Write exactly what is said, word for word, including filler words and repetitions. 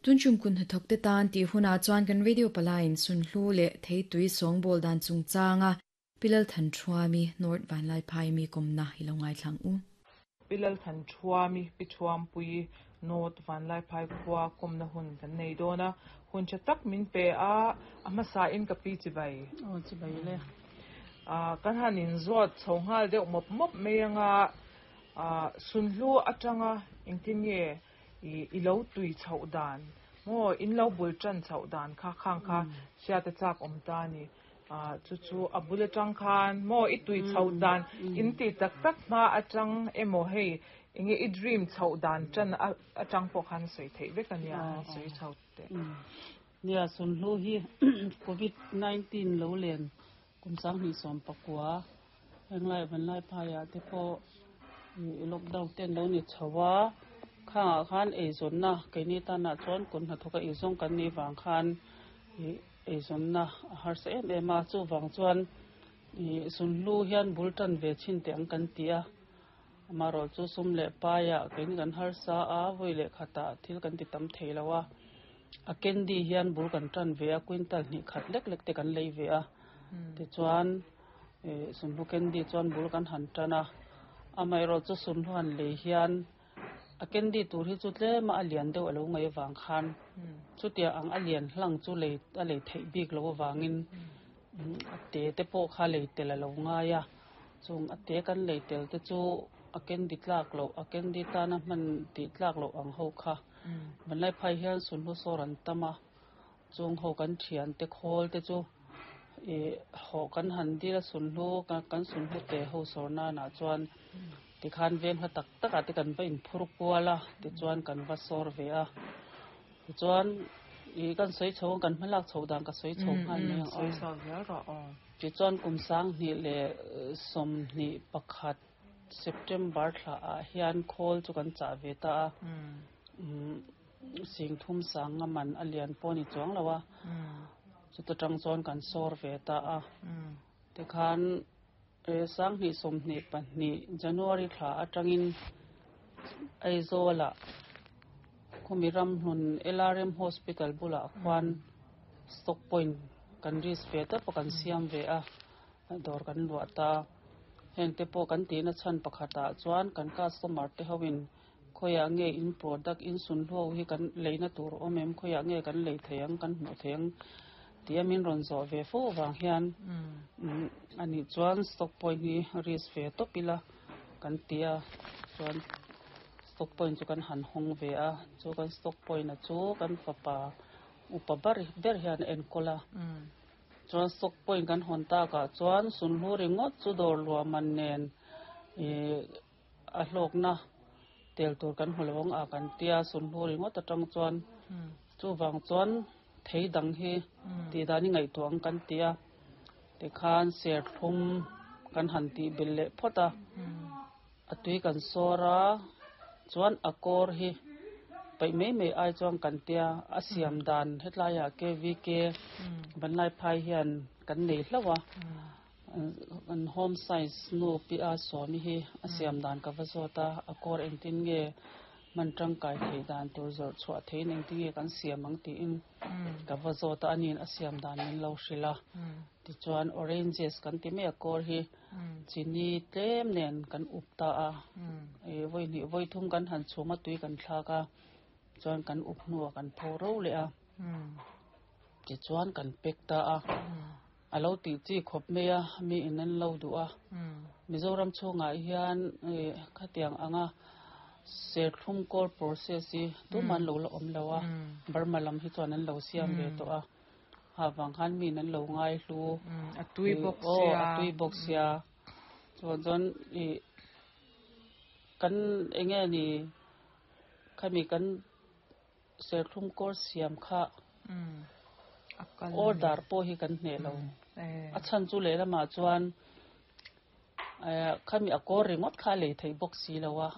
Tunchum kun hnathawk te tan tih hunah chuan kan radio palaiin sunhlu leh theitui sawngbawl dan chungchanga Pilal Than Thuami North Vanlaiphai mi kawmna i lo ngaithlang u. Pilal Than Thuami Pithuampui North Vanlaiphai khua kawmna hun kan nei dawn a hun tha tak min pe a a hmasa in ka pi chibai aw chibai le a kan han in zawt chho nghal deuh mawp mawp mai anga a sunhlu atanga engtin nge i i lo tui chhoh dan maw in lo bul tan chhoh dan kha khang kha hriat a chak awm ta ni a chu chu a bul atang khan maw i tui chhoh dan in ti tak tak hma atang emaw hei enge i dream chhoh dan tan atang pawh khan sawi theih vek ania sawi chho te nia sunhlu hi covid nineteen lo len kum sang hnih sawm pakua henglai vanlai phaiah te pawh i lockdown ten lo ni chhoa khangah khan eizawnna keini tanah chuan kun hnathawk a eizawng kan nih vang khan i eizawnna a harsa em em a chuvang chuan i sunhlu hian bul tan ve chin te ang kan ti a amarawh chu sum leh paiah keini kan harsa a vawi leh khatah thil kan ti tam thei lo a a candy hian bul kan tan ve a quintal hnih khat lek lek te kan lei ve a tichuan sunhlu candy chuan bul kan han tan a amaherawh chu sunhlu han lei hian a candy tur hi chu tlema a lian deuh alo ngai awang khan chutia ang a lian hlang chu lei a lei theih bik lo awangin a te te pawh kha lei tel alo ngai a chung a te kan lei tel te chu a candy tlak loh a candy tana hman tih tlak loh ang ho kha vanlai phai hian sunhlu sawr an tam a chung ho kan thian te khawl te chu ih haw kan han dil a sunhlu kan sunhlu te ho sawr nanah chuan tikhan veng hla tak takah te kan va inphur kual a tichuan kan va sawr ve a tichuan ih kan sawi chho kan hmalak chho dan ka sawi chho nghal mai ang sawi chho zel rawh aw tichuan kum sang hnih leh sawmhnih pakhat September thla ah hian khawl chu kan chah ve ta a um sing thum sang nga man a lian pawh ni chuang lo a chuta tang chuan kan sawr ve ta a tikhan sang hnih sawmhnih pahnih January thla atangin Aizawlah khumi ram hlun L R M Hospital bulah khuan stock point kan risk ve ta pawh kan siam ve a dawr kan luah ta heng te pawh kan tihna chhan pakhatah chuan kan customer te hoin khawiah nge in product in sunhlu hi kan leina tur awm em khawiah nge kan lei thei ang kan hmuh thei ang tia min rawn zawh ve fo awang hian ani chuan stock point hi risk ve tawp ila kan ti a chuan stock point chu kan han hawng ve a chu kan stock point a chu kan fapa upa ber ber hian a enkawl a chuan stock point kan hawn takah chuan sunhlu ringawt chu dawr luah man nen ih a hlawkna tel tur kan hmu lo ang a kan tia sunhlu ringawt atang chuan chuvang chuan thei dang hi tih dan i ngaihtuah ang kan ti a tikhan serthlum kan han tih bel leh phawt a a tui kan sawr a chuan a kawr hi paih mai mai ai chuan kan tia a siam dan hetlaiah K V K vanlai phai hian kan nei hlauh a an home science nu pi a sawmi hi a siam dan ka va zawt a a kawr engtin nge man tangkai thei dan tur zawrh chhuah theiin engtin nge kan siam ang tiin ka va zawt a aniin a siam dan min lo hrilh a tichuan oranges kan ti mai a kawr hi chini tlem nen kan up ta a ih vawi hnih vawi thum kan han chhum a tui kan thlak a chuan kan up hnuah kan pho ro leh a tichuan kan pack ta a a lo tih chi khawp mai a mi in an lo duh a Mizoram chhungah hian ih khatiang anga serthlum kawr process hi tuman lo la awm lo a Burma lam hi chuan an lo siam ve tawh a ha wang khan mi in an lo ngai hlu a tui bawk aw sia a tui bawk sia chuan chuan ih kan enge ni khami kan serthlum kawr siam kha a kal order pawh hi kan hneh lo a chhan chu lehlamah chuan khami a kawr ringawt kha a lei theih bawk si lo a